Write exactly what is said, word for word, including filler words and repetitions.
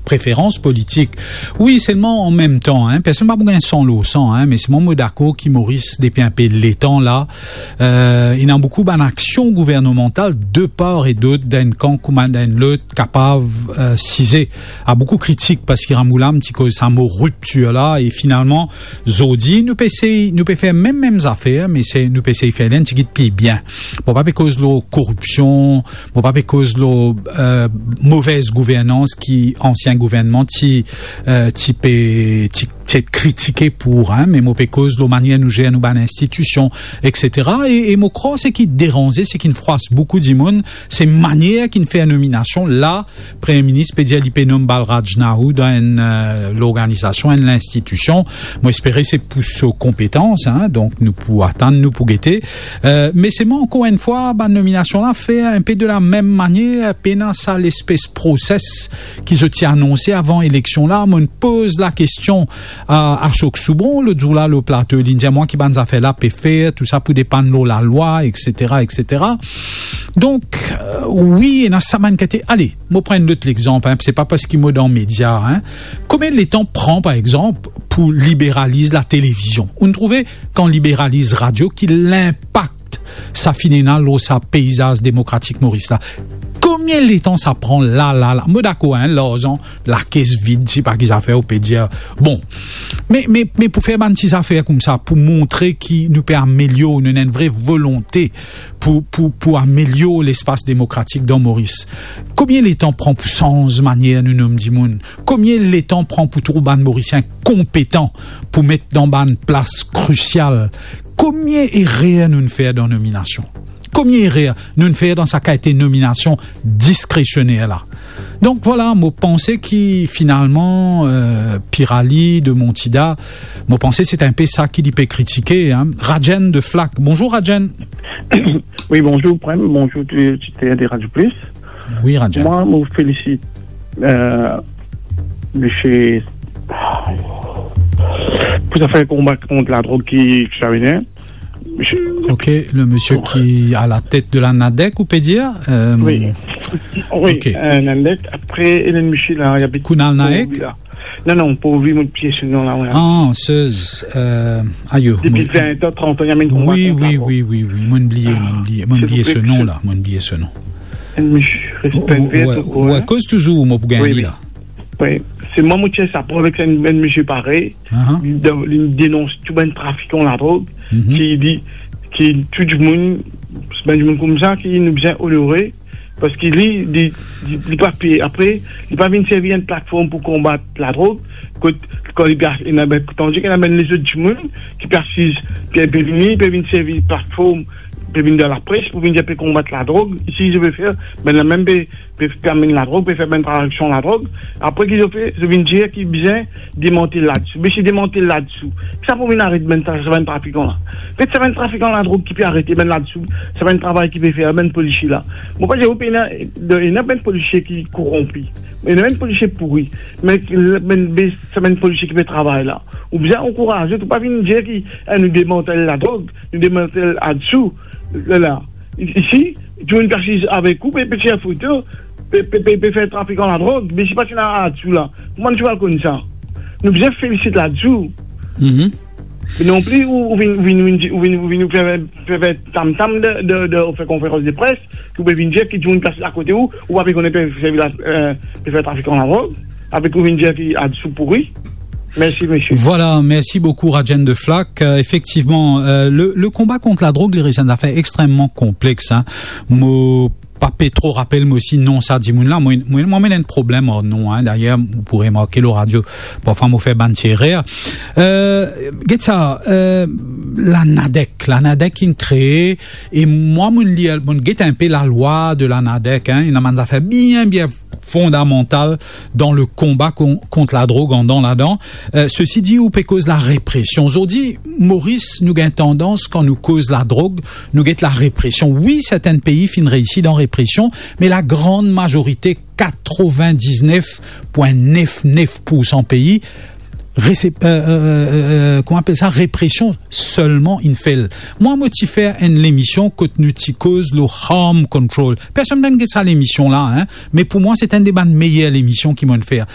preferans politik. Wi, selman an mem tan, hein, personn pa pou gagn san lor san, hein, me selman mo dakor ki Moris, depi inpe letan la, euh, ena boukou bann aksion gouvernemantal de par e dot, dan enn kan kouma dan enn lot, kapav, euh, size a boukou kritik, parski Ramoolam ti koz sa mo riptir la, e finalman, zordi, nou pe esey, nou pe fer mem, mem zafer, me se, nou pe esey fer li enn tigit pli bien. Mo pa pe koz lor koripsion, mo pa pe koz lor, euh, movez gouvernans ki ansien gouvernman ti, euh, ti pe, ti, ti kritike pou, hein, me mo pe koz lor manier nou zer nou bann institision, et cetera. E, e mo krwar seki deranze, seki fwas boukou dimoun, se manier ki fer nominasion la, Premie Minis pe dir li pe nom Balraj Nahou dan enn, euh, lorganizasion, enn linstitision. Mo espere se pou so konpetans, hein, donk nou pou atann, nou pou gete. Euh, me selman, ankor enn fwa, bann nominasion la fer inpe de la mem manier, pena sa lespes proses ki zot ti anonse avan eleksion la. Mo'nn poz lakestion a, a Sok Soubron, lot zour la, lor plato, li'nn dir mwa ki bann zafer la pe fer, tou sa pou depann lor lalwa, et cetera, et cetera. Donk, euh, wi, ena sa bann kantite. Ale, mo pran enn lot lexanp, hein, se pa parski mo dan media, hein. Konbien letan pran, par exanp, pou liberaliz latelevizion? Ou trouve kan liberaliz radio, ki linpak sa finn ena lor sa peizaz demokratik Moris la? Konbien letan sa pran la, la, la? Mo dakor, hein, larzan, lakes vid, sipa ki zafer, ou pe dir, bon. Me, me, me pou fer bann ti zafer koumsa, pou montre ki nou pe amelior, nou ena enn vre volonte pou, pou, pou amelior lespas demokratik dan Moris. Konbien letan pran pou sanz manier nou nom dimoun? Konbien letan pran pou trouv bann Morisien konpetan pou met dan bann plas krisial? Konbien erer nou'nn fer dan nominasion? Konbien erer nou'nn fer dan sa kalite nominasion diskresioner la? Donk, vwala, mo panse ki finalman, euh, Pirali de Montida, mo panse se inpe sa ki li pe kritike, hein. Rajen de Flak. Bonzour, Rajen. Wi, bonzour, Prem. Bonzour, tou le oditer de Radio Plus. Wi, Rajen. Mwa, mo felisit, euh, misie, pou zafer konba kont ladrog ki, ki sa vini. Misie. Ok, le misie ki a la tet de la NADEC, ou pe dir, euh, wi. Wi, ok. Euh, NADEC, apre, ena enn misie la, li abit Kunal Naik? Non, non, pou li, mo bliye so nom la, wi. Ah, sez, euh, ayo, depi vin an, trant an, li amenn konba kont ladrog. Wi, wi, wi, wi, mo'nn bliye, mo'nn bliye, mo'nn bliye so nom la, mo'nn bliye so nom. Enn misie, respek, wi, wi, koz touzour, mo pou gagn li la. Wi. Se mwa, mo ti ena sa problem avek enn, enn misie parey. Li, li denons tou bann trafikan ladrog, ki li, ki tou dimoun, bann dimoun koumsa, ki nou bizin onore, parski li, li, li, li pa pe, apre, li pa vinn servi enn platform pou konbat ladrog, kot, kan li pe, ena, ben, tandi ki ena bann lezot dimoun ki pe asiz, ki pe vini, pe vinn servi platform, pe vinn dan lapres, pou vinn dir pe konbat ladrog, isi, zot pe fer, ben, la mem pe, pe, pe amenn ladrog, pe fer bann trafikant ladrog, apre ki zot fer, zot vinn dir ki bizin demantel ladisou. Me si demantel ladisou, ki sa pou vinn aret bann tra-, sa bann trafikan la? Get sa bann trafikan ladrog ki pe arete, bann ladisou, sa bann travay ki pe fer, bann polisie la. Mo pa dir ou pena, ena bann polisie ki koronpi. Ena bann polisie pouri. Me, me, me sa bann polisie ki pe travay la, ou bizin ankouraze, ou pa vinn dir ki, eh, nou demantel ladrog, nou demantel ladisou. La, la. I-, isi, dimoun ki asiz avek ou, pe, pe tir foto, pe, pe, pe, pe fer trafikan ladrog, me si pa ti ena ladisou la, kouma nou ti pou al konn sa? Nou bizin felisit ladisou. Mhm. Me non pli, ou, ou vinn, ou vinn, ou vinn, ou vinn, ou vinn fer, fer, fer tam-tam de, de, de, ou fer konferans de pres, ki ou pe vinn dir ki dimoun ki asiz akote ou, ou pa pe kone pe servi la, eh, pe fer trafikan ladrog, avek ou vinn dir ki ladisou pouri. Mersi, misie. Vwala, mersi boukou, Rajen de Flak. Euh, efektivman, euh, le, le konba kont ladrog, li res enn zafer extrememan konplex, hein. Mo pa pe tro rapel mo osi nom sa dimoun la. Mwa, mwa, mwa, mo ena enn problem ar nom, hein. Dayer, ou pou remarke lor radio, parfwa mo fer bann ti erer. Euh, get sa, euh, la NADEC, la NADEC inn kree, e mwa, mo'nn lir, mo'nn get inpe lalwa de la NADEC, hein. Ena bann zafer bien, bien fondamantal dan le konba kon-, kont ladrog andan ladan. Euh, sesi di, ou pe koz larepresion. Zordi, Moris, nou gagn tandans, kan nou koz ladrog, nou get larepresion. Wi, sertin pei finn reisi dan represion, me lagrann mazorite, katrevin-diznef pwin nef nef poursan pei, rese-, euh, euh, euh, euh, kouma apel sa, represion selman inn fer. Mwa, mo ti fer enn lemision kot nou ti koz lor harm control. Personn pa'nn get sa lemision la, hein, me pou mwa, se enn de bann meyer lemision ki mo'nn fer.